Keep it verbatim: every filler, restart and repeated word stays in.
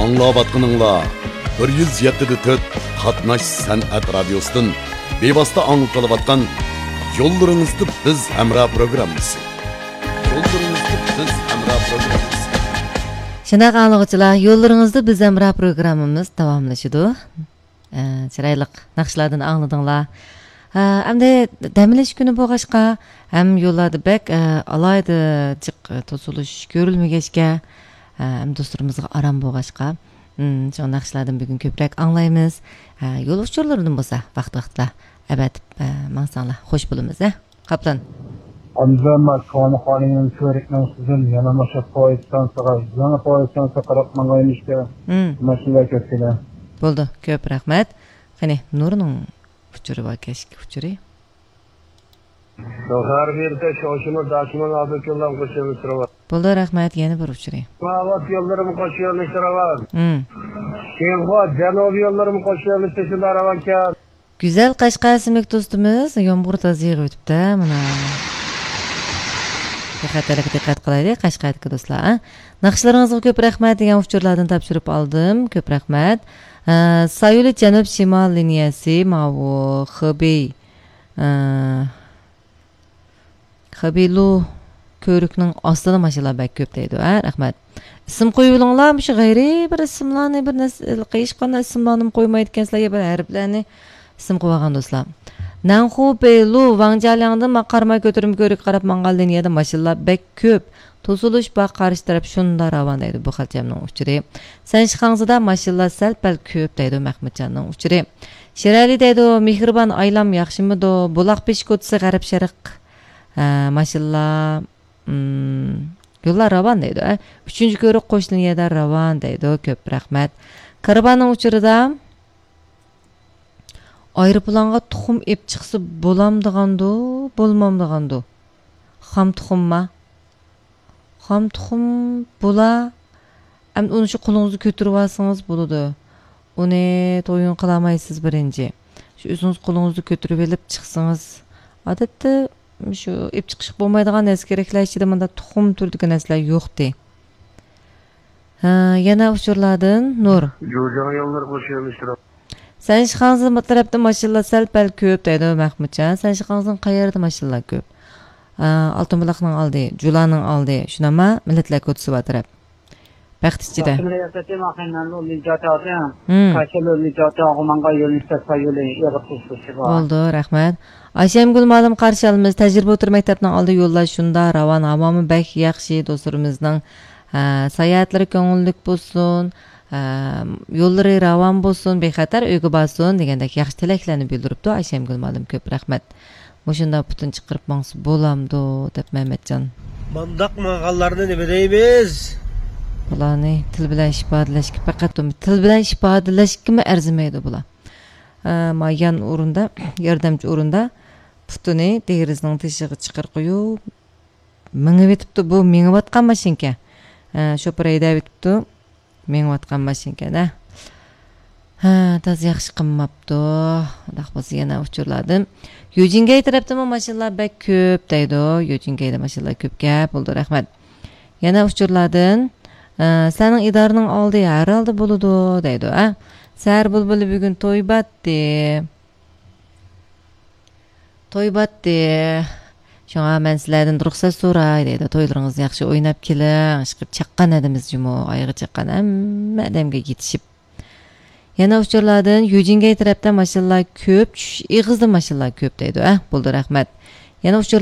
ئاڭلاۋاتقىنىڭلار بىر يۈز يەتتە دە تۆت قاتناش سەنئەت رادىيوسىدىن بىۋاسىتە ئاڭلىتىلىۋاتقان يوللىرىڭىزدا بىز ھەمراھ پروگراممىسى. يوللىرىڭىزدا بىز ھەمراھ پروگراممىسى. شۇنداق ئاڭلىغۇچىلار، يوللىرىڭىزدا بىز ھەمراھ پروگراممىمىز داۋاملىشىدۇ. ئە، چىرايلىق ناخشىلاردىن ئاڭلىدىڭلار. ئە، ئەمدى دەم ئېلىش كۈنى بولغاچقا، ھەم يوللاردا بەك، ئە، ئالاھىدە جىق، ئە، توسۇلۇش كۆرۈلمىگەچكە، ئە، ھەم دوستلىرىمىزغا ئارام بولغاچقا، ئىم، شۇڭا ناخشىلاردىن بۈگۈن كۆپرەك ئاڭلايمىز. ئە، يول ئۇچۇرلىرىدىن بولسا ۋاقىت-ۋاقتىدا ئەۋەتىپ، ئە، ماڭساڭلار خوش بولىمىز، ھە، قاپلان. ئاندىن ما كونا خانىمنىڭ كۆۋرۈكنىڭ ئۈستىدىن يەنە مۇشۇ پويىز ستانسىغا، يېڭى پويىز ستانسىغا قاراپ ماڭغايمىشكە، مم. ماشىنىلار كۆپكىنە. بولدى، كۆپ رەھمەت. قېنى، نۇرنىڭ ئۇچۇرى بار، كەچكى ئۇچۇرى. غەربىي بېرىتە شوشىمۇ داشىمۇ ئابدۇكېلام قوشۇۋېلىشتۇرۇۋال. بولدى، رەھمەت، يەنە بىر ئۇچۇرى. ئاۋات يوللىرىمۇ قوشۇۋېلىشتۇرۇۋال. مم. شىنخۇا جەنۇبىي يوللىرىمۇ قوشۇۋېلىشتۇرۇۋال، راۋانكەن. گۈزەل قەشقەر ئىسىملىك دوستىمىز يامغۇر تازا يېغىۋېتىپتۇ، مانا. بىخەتەرلىككە دىققەت قىلايلى، قەشقەردىكى دوستلار، ھە؟ ناخشىلىرىڭىزغا كۆپ رەھمەت دېگەن ئۇچۇرلاردىن تاپشۇرۇپ ئالدىم. كۆپ رەھمەت. ئە، سايولى جەنۇب شىمال لىنىيەسى، ماۋۇ خېبېي، ئە، خېبېيلۇ كۆۋرۈكنىڭ ئاستىدا ماشىنىلار بەك كۆپ دەيدۇ، ھە؟ رەھمەت. ئىسىم قويۇۋېلىڭلار، مۇشۇ غەيرىي بىر ئىسىملارنى، بىر نەرسە، ھېچقانداق ئىسىملارنىمۇ قويمايدىكەنسىلەر، يا بىر ھەرپلەرنى ئىسىم قويۇۋالغان دوستلار. نەنخۇ پېيلۇ ۋاڭجيالياڭدىن ما قاراماي كۆتۈرمە كۆۋرۈككە قاراپ ماڭغان لىنىيەدە ماشىنىلار بەك كۆپ. توسۇلۇش بار، قارشى تەرەپ شۇنداق راۋان دەيدۇ، بۇ خەلچەمنىڭ ئۇچۇرى. سەنشىخاڭزىدا ماشىنىلار سەل-پەل كۆپ دەيدۇ، مەخمۇتجاننىڭ ئۇچۇرى. شىرئەلى دەيدۇ، مېھرىبان ئايلام ياخشىمىدۇ؟ بۇلاق بېشى كوچىسى غەرب شەرق، ھە، ماشىنىلار، ئىم، يوللار راۋان دەيدۇ، ھە. ئۈچىنچى كۆۋرۈك قوش لىنىيەدە راۋان دەيدۇ، كۆپ رەھمەت. كارۋاننىڭ ئۇچۇرىدا ئايروپىلانغا تۇخۇم ئېپ چىقسا بولامدىغاندۇ، بولمامدىغاندۇ؟ خام تۇخۇمما؟ خام تۇخۇم بولا. ئەمدى ئۇنى شۇ قولىڭىزدا كۆتۈرۈۋالسىڭىز بولىدۇ. ئۇنى تويۇن قىلالمايسىز بىرىنچى. شۇ ئۆزىڭىز قولىڭىزدا كۆتۈرۈۋېلىپ چىقسىڭىز. ئادەتتە شۇ ئېپ چىقىشقا بولمايدىغان نەرسە كېرەكلەر ئىچىدە مۇنداق تۇخۇم تۈرىدىكى نەرسىلەر يوقتى. ھە، يەنە ئۇچۇرلاردىن نۇر. جۇجاڭ يوللىرى قوشۇۋېلىشتۇرۇپ. سەنشىخاڭزى تەرەپتە ماشىنىلار سەل-پەل كۆپ دەيدۇ مەخمۇتجان. سەنشىخاڭزىنىڭ قەيەردە ماشىنىلار كۆپ؟ ئا، ئالتۇن بۇلاقنىڭ ئالدى، جۇلانىڭ ئالدى، شۇنداقما مىللەتلەر كوچىسى بار تەرەپ. بەخت ئىچىدە. باشقا رىياسەتتىن ئاخىرىنان لو لىجاتا، ھىم. كاشا لو لىجاتا، غۇمانغا يولنى تەسقا يولى، ئېغىر تۇرۇشى بار. بولدى، رەھمەت. ئايشەمگۈل مۇئەللىم قارشى ئالىمىز. تەجرىبە ئوتتۇرا مەكتەپنىڭ ئالدى يوللار شۇنداق راۋان، ھاۋامۇ بەك ياخشى، دوستلىرىمىزنىڭ، ھە، ساياھەتلىرى كۆڭۈللۈك بولسۇن. ئەم، يوللىرى راۋان بولسۇن، بىخەتەر ئۆيگە بارسۇن دېگەندەك ياخشى تىلەكلەرنى بىلدۈرۈپتۇ ئايشەمگۈل مۇئەللىم، كۆپ رەھمەت. مۇشۇنداق پۇتىنى چىقىرىپ ماڭسا بولامدۇ دەپ مەمەتجان. مانداق ماڭغانلارنى نېمە دەيمىز؟ بۇلارنى تىل بىلەن ئىپادىلەشكە پەقەت، تىل بىلەن ئىپادىلەشكىمۇ ئەرزىمەيدۇ بۇلار. ئە، ما يان ئورۇندا، ياردەمچى ئورۇندا پۇتىنى دېرىزىنىڭ تېشىغا چىقىرىپ قويۇپ، مېڭىۋېتىپتۇ، بۇ مېڭىۋاتقان ماشىنىكەن. ھە، شوپۇر ھەيدەۋېتىپتۇ، مېڭىۋاتقان ماشىنىكەن، ھە. ھە، تازا ياخشى قىلماپتۇ. ئۇنداق بولسا يەنە ئۇچۇرلاردىن. يۇجىنگەي تەرەپتىمۇ ماشىنىلار بەك كۆپ دەيدۇ. يۇجىنگەيدە ماشىنىلار كۆپ گەپ بولىدۇ، رەھمەت. يەنە ئۇچۇرلاردىن، ئە، سەنىڭ ئىدارىنىڭ ئالدى ھەر ھالدا بولىدۇ دەيدۇ، ھە. سەھەر بۇلبۇلى بۈگۈن توي باتتى. توي باتتى. شۇڭا مەن سىلەردىن رۇخسەت سوراي دەيدۇ. تويلىرىڭىزنى ياخشى ئويناپ كېلىڭ. ئىشقىلىپ چاققان ئادىمىز جۇمۇ، ئايىغى چاققان ھەممە ئادەمگە يېتىشىپ. يەنە ئۇچۇرلاردىن يۈجىنگەي تەرەپتە ماشىنىلار كۆپ، چۈشۈش ئېغىزىدا ماشىنىلار كۆپ دەيدۇ. ئەھ، بولدى، رەھمەت. يەنە ئۇچۇر